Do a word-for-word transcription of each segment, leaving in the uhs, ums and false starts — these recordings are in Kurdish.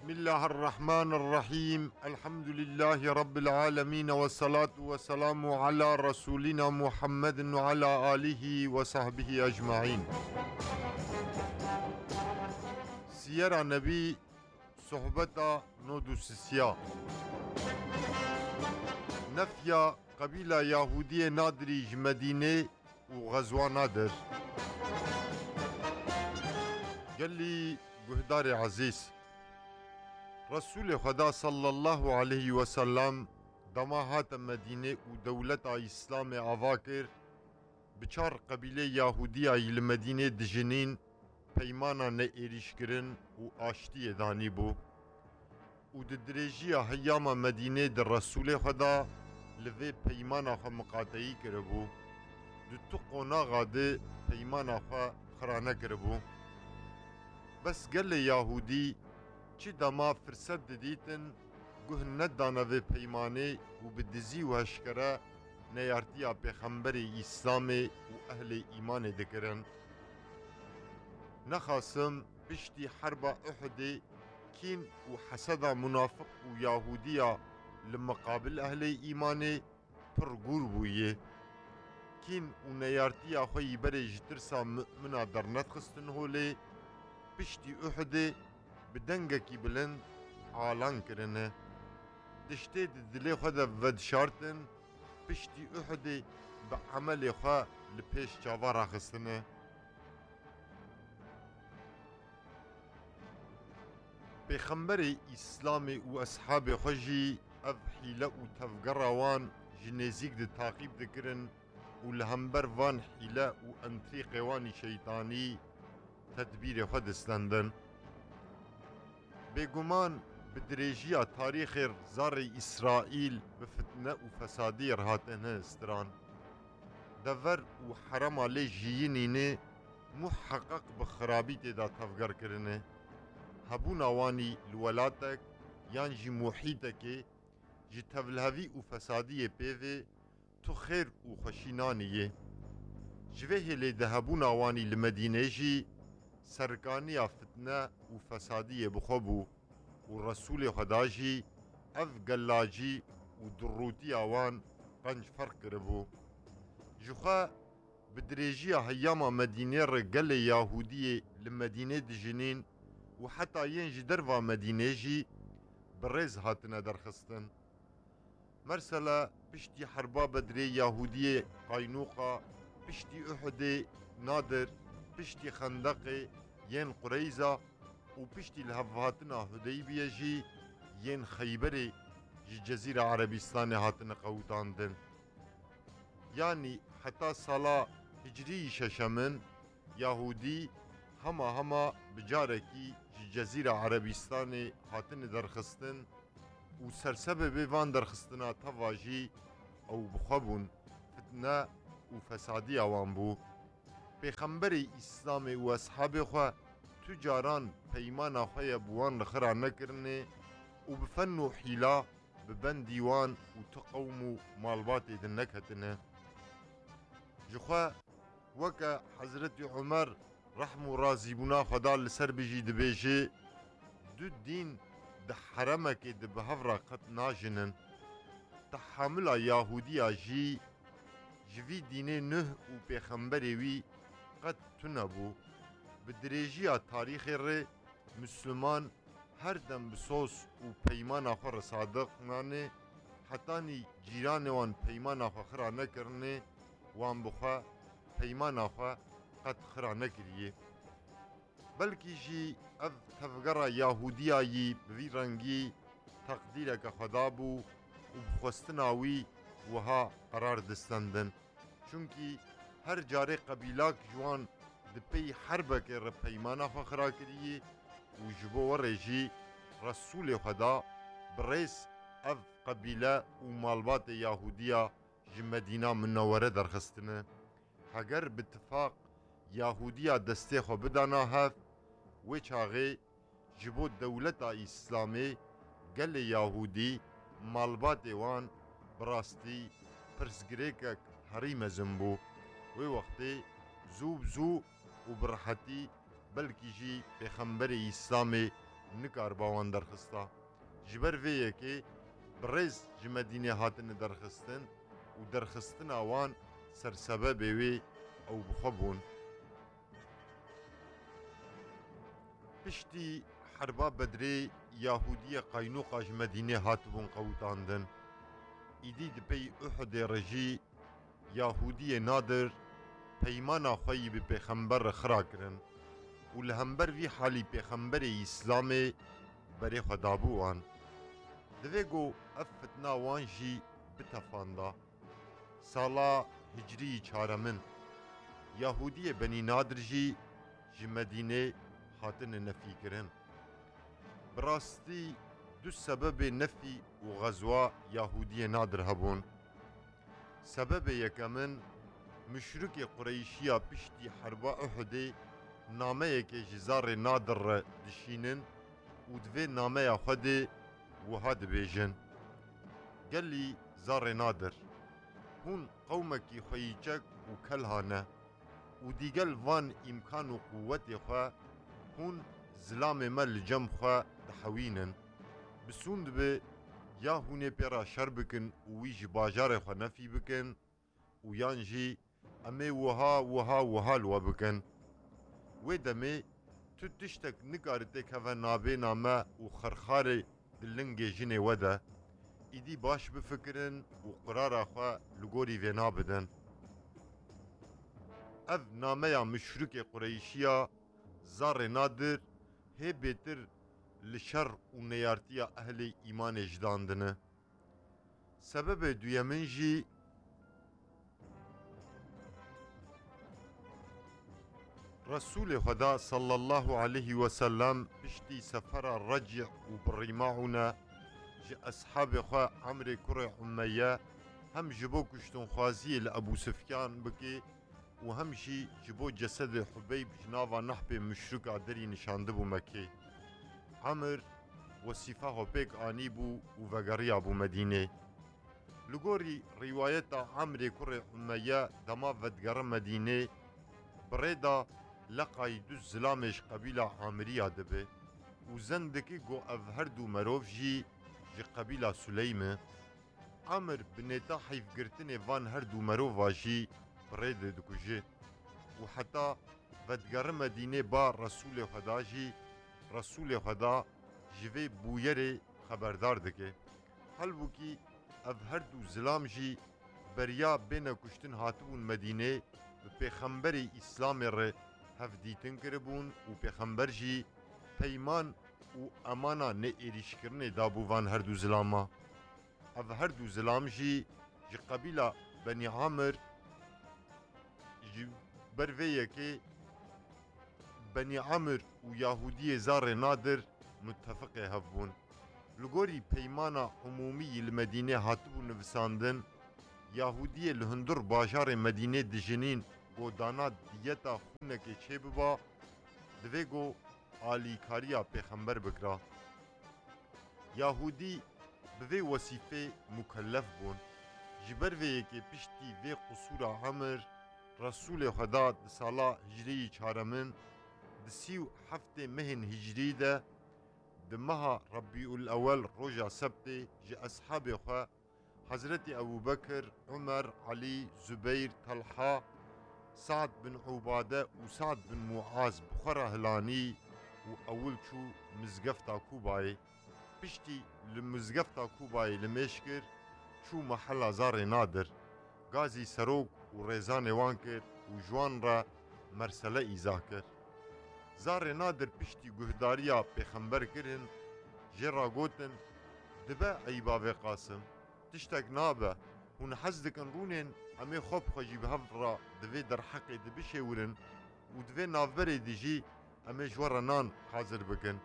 بسم الله الرحمن الرحيم. الحمد لله رب العالمين، والصلاة والسلام على رسولنا محمد وعلى آله وصحبه أجمعين. Siyera Nebî, sohbeta nod û sisiya. Nefya qebîla Yahûdiyê Nadirî ji Medînê û xezwa Nadir. Gelî guhdarê ezîz, Resûlê Xweda sallallahu aleyhi ve sellem dema hate Medînê û dewleta Îslamê ava kir, bi çar qebîlê Yahûdiya yî li Medînê dijinîn, peymana neêrîşkirin û aştiyê danîbû. Û di dirêjiya heyama Medînê di Resûlê Xweda li vê peymana xwe miqateyî kiribû. Di tu qonaxa di peymana xwe xira nekiribû. Bes gelê Yahûdî çi dema firset didîtin, guh nedane vê peymanê û bi dizî û eşkere neyartiya Pêxemberê Îslamê û ehlê îmanê dikirin. Nexasim piştî herba Uhudê kîn û heseda munafiq û Yahûdiya li miqabil ehlê îmanê pir gûr bûye. Kîn û neyartiya xwe yî berê ji tirsa mumina dernedxistin holê, piştî Uhudê bi dengekî bilind alan kirine. Tiştê di dilê xwe de vedişartin, piştî Uhudê bi emelê xwe li pêş çava raxistine. Pêxemberê Îslamê û eshabê xwe jî ev hîle û tevgera wan ji nêzîk di taqîb dikirin û li hember van hîle û entrîqê wan î şeytanî tedbîrê xwe distendin. Bêguman bi dirêjiya tarîxê zarê Îsraîl bi fitne û fesadiyê re hatine stiran. Dever û herema lê jiyînîne muheqeq bi xirabî tê de tevger kirine. Hebûna wanî li welatek yan jî muhîtekê ji tevlihevî û fesadiyê pê ve tu xêr û xweşî nanî yê. Ji vê hêlê di hebûna wanî li Medînê jî serkaniya fitne û fesadiyê bi xwe bû û Resûlê Xweda jî ev gelacî û durûtiya wan qenc ferq kiribû. Ji xwe bi dirêjiya heyama Medînê re gelê Yahûdiyê li Medînê dijinîn û heta yên ji derva Medînê jî bi rêz hatine derxistin. Mersela piştî herba Bedrê Yahûdiyê Qaynûqa, piştî Uhudê Nadir, piştî Xendeqê yên Qureyza û piştî lihevhatina Hudeybiyê jî yên Xeyberê ji Cezîra Erebîstanê hatine qewitandin. Yanî heta sala hicriyî şeşemin Yahûdî hema hema bi carekî ji Cezîra Erebîstanê hatine derxistin û sersebebê van derxistina teva jî ew bi xwe bûn, fitne û fesadiya wan bû. Pêxemberê Îslamê û eshabê xwe tu caran peymana xwe ye bi wan re xira nekirine û bi fen û hîla bi bendî wan û tu qewm û malbatê din neketine. Ji xwe weke Hezretî Umer rehm û razîbûna Xweda li ser bijî dibêje, du dîn di heremekê de bi hev re qet najinin. Tehamila Yahûdiya jî ji vî dînê nuh û pêxemberê wî qet tune bû. Bi dirêjiya tarîxê re Misliman her dem bi soz û peymana xwe re sadiq mane, hetanî cîranê wan peymana xwe xira nekirine, wan bi xwe peymana xwe qet xira nekiriye. Belkî jî ev tevgera Yahûdiya yî bi vî rengî teqdîreke Xweda bû û bi xwestina wî wiha qerar distendin. Çunkî her carê qebîlak ji wan di pey herbekê re peymana xwe xira kiriyê û ji bo werê jî Resûlê Xweda bi rêz ev qebîle û malbatê Yahûdiya ji Medîna Munewwere derxistine. Heger bi tifaq Yahûdiya destê xwe bidana hev, wê çaxê ji bo dewleta Îslamê gelê Yahûdî, malbatê wan bi rastî pirsgirêkek herî mezin bû. Wê wextê zû bi zû û bi rehetî belkî jî Pêxemberê Îslamê nikariba wan derxista. Ji ber vê yekê bi rêz ji Medînê hatine derxistin û derxistina wan sersebebê wê ew bi xwe bûn. Piştî herba Bedrê Yahûdiyê Qaynuqa ji Medînê hatibûn qewitandin. Îdî di pey Uhudê re jî Yahûdiyê Nadir peymana xwe yî bi pêxember re xira kirin û li hember vî halî pêxemberê Îslamê berê xwe dabû wan. Divê ku ev fitna wan jî bitefanda. Sala hicriyî çaremin, Yahûdiyê Benî Nadir jî ji Medînê hatine nefîkirin. Bi rastî du sebebê nefî û xezwa Yahûdiyê Nadir hebûn. Sebebê yekemin, muşrikê Qureyşiya piştî herba Uhudê nameyekê ji zarê Nadir re dişînin û di vê nameya xwe de wiha dibêjin: Gelî zarê Nadir, hûn qewmekî xweyîçek û kelha ne û digel van îmkan û quwetê xwe hûn zilamê me li cem xwe dihewînin. Bi sûnd be ya hûn ê pê re şer bikin û wî ji bajarê xwe nefî bikin û yan jî em ê wiha, wiha, wiha li we bikin. Wê demê tu tiştek nikare têkeve nabêna me û xerxarê di lingê jinê we de. Îdî baş bifikirin û qirara xwe li gorî vêna bidin. Ev nameya muşrikê Qureyşiya zarê Nadir hê bêtir li şer û neyartiya ehlê îmanê ji dan dine. Sebebê duyemin jî Resûlê Xweda sallallahu aleyhi ve sellem piştî sefera Recî û Birîmaûne ji eshabê xwe Emrê kurê Umeyye hem ji bo kuştinxwaziyê li Ebû Sifyan bike û hem jî ji bo cesedê Hubeyb ji nava nehpê muşrika derî nişandibû Mekkê. Emir wesîfa xwe pêk anîbû û vegeriyabû Medînê. Li gorî rîwayeta Emrê kurê Umeyye dema vedigere Medînê, bi rê de leqayî du zilamê ji qebîla Amiriya dibe û zen dike ku ev her du merov jî ji qebîla Suleyme. Amir bi nêta heyfgirtinê van her du merova jî bi rê de dikuje û heta vedigere Medînê ba Resûlê Xweda jî Resûlê Xweda ji vê bûyerê xeberdar dike. Halbûkî ev her du zilam jî beriya bêne kuştin hatibûn Medînê, bi pêxemberê Îslamê re hevdîtin kiribûn û pêxember jî peyman û emana neêrîşkirinê dabû van her du zilama. Ev her du zilam jî ji qebîla Benî Amir, ji ber vê yekê Benî Amir û Yahûdiyê zarê Nadir muttefiqê hev bûn. Li gorî peymana umûmî yî li Medînê hatibû nivisandin, Yahûdiyê li hundir bajarê Medînê dijinîn ku dana diyeta xûnekê çêbiba, divê ku alîkariya pêxember bikira. Yahûdî bi vê wesîfê mukellef bûn. Ji ber vê yekê piştî vê qisûra Emir, Resûlê Xweda di sala hicrî yî çaremin, di sî û heftê mehên hicrî de, di meha Rebîul Ewel roja sebtê ji eshabê xwe Hezretî Ebû Bekir, Umer, Elî, Zubeyr, Telha, Sa'd bin Ubade û Sa'd bin Muaz bi xwe re hilanî û ewil çû mizgefta Kûbayê. Piştî li mizgefta Kûbayê limêj kir, çû mehela Zarê Nadir. Gazî serok û rêzanê wan kir û ji wan re mersele îza kir. Zarê Nadir piştî guhdariya pêxember kirin, jê re gotin: Dibe eyba vê Qasim, tiştek nabe, hûn hez dikin rûnên, em ê xwe bi xwe jî bi hev re di vê derheqê de bişêwirin û di vê navberê de jî em ê ji we re nan hazir bikin.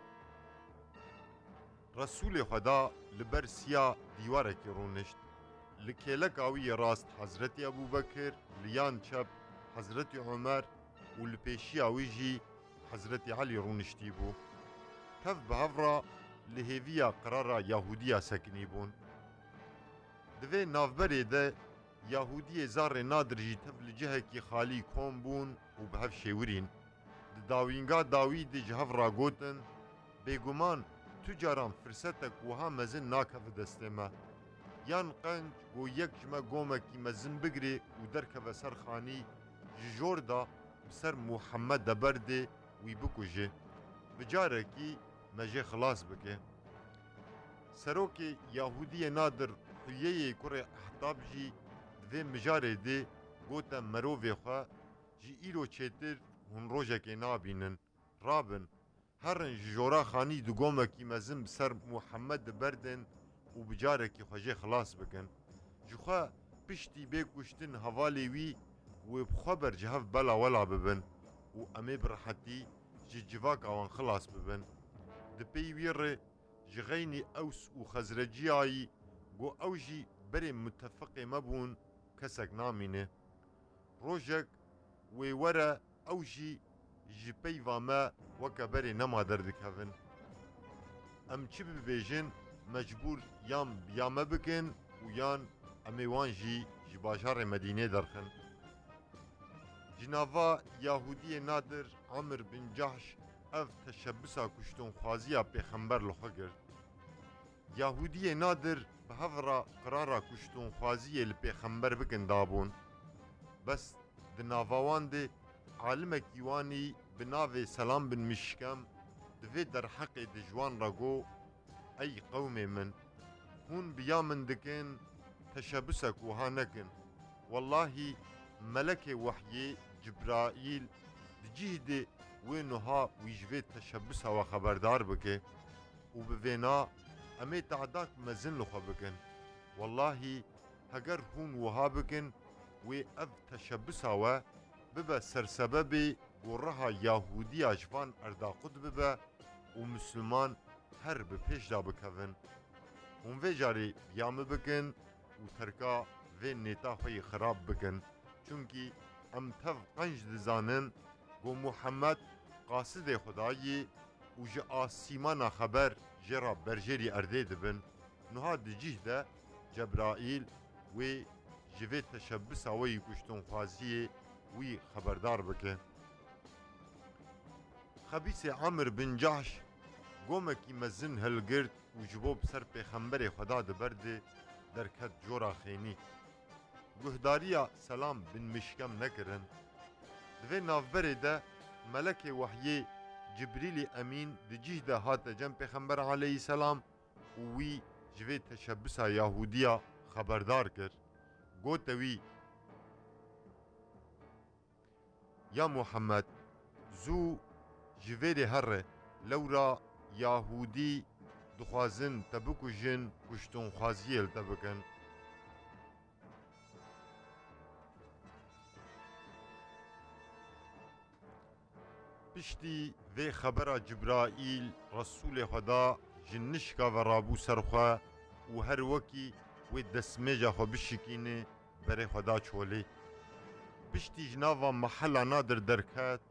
Resûlê Xweda li ber siya dîwarekî rûnişt. Li kêleka wî yê rast Hezretî Ebû Bekir, li yan çep Hezretî Omer û li pêşiya wî jî Hezretî Elî rûniştî bû. Tev bi hev re li hêviya qirara Yahûdiya sekinî bûn. Di vê navberê de Yahûdiyê Zarê Nadir jî tev li cihekî xalî kom bûn û bi hev şêwirîn. Di dawînga dawî de ji hev re gotin: Bêguman tu caran firsetek wiha mezin nakeve destê me. Yan qenc ku yek ji me gomekî mezin bigirê û derkeve ser xanî, ji jor de bi ser Muhammed de berdê, wî bikuje. Bi carekî me jê xilas bike. Serokê Yahudiyê Nadir Huyeyê kurê Ehtab jî di vê mijarê de gote merovê xwe, ji îro çêtir hûn rojekê nabînin. Rabin, herin ji jora xanî di gomekî mezin bi ser Muhammed de berdin û bi carekî xwe jê xilas bikin. Ji xwe piştî bê kuştin hevalê wî wê bi xwe bercihev bela wela bibin û em ê bi rehetî ji civaka wan xilas bibin. Di pey wî rê ji xeynî Ews û Xezreciyayî ku ew jî berê mutefiqê me bûn, kesek namîne. Rojek wê were ew jî ji peyva me weke berê nema derdikevin. Em çi bibêjin, mecbûr yan bi ya me bikin û yan em ê wan jî ji bajarê Medînê derxin. Ji nava Yahudiyê Nadir Amir bin Cahş ev teşebbisa kuştonxwaziya pêxember li xwe girt. Yahudiyê Nadir bi hev re qirara kuştonxwaziyê li pêxember bikin dabûn. Bes di nava wan de alimekî wanî bi navê Selam bin Mişkem di vê derheqê de ji wan re got, Ey qewmê min, hûn bi ya min dikin, teşebusek wiha nekin. Wellahî melekê wehyê Cibraîl di cih de wê nuha wî ji vê teşebusa we xeberdar bike û bi vêna em ê te'dak mezin li xwe bikin. Wellahî heger hûn wiha bikin, wê ev teşebusa we bibe sersebebê ku reha Yahûdiya ji van erda qut bibe û Misliman her bi pêş de bikevin. Hûn vê carê bi ya min bikin û terka vê nêta xwe yê xirab bikin. Çunkî em tev qenc dizanin ku Muhammed qasidê Xwedayê û ji asîmana xeber jê re berjêrî erdê dibin. Nuha di cih de Cebraîl wê ji vê teşebusa we yî kuştinxwaziyê wî xeberdar bike. Xebîsê Amir bin Cahş gomekî mezin hilgirt û ji bo bi ser pêxemberê Xweda di ber de derket cora xênî. Guhdariya Selam bin Mişkem nekirin. Di vê navberê de melekê wehyê Cibrîlî Emîn di cih de hate cem pêxember aleyhisselam û wî ji vê teşebusa Yahûdiya xeberdar kir. Gote wî, Ya Muhammed, zû ji vêrê here, lewra Yahûdî dixwazin te bikujin, kuştinxwaziyê li te bikin. Piştî vê xebera Cibraîl, Resûlê Xweda ji nişka ve rabû ser xwe û her wekî wê destmêja xwe bişikîne, berê xwe da çolê. Piştî ji nava mehela Nadir derket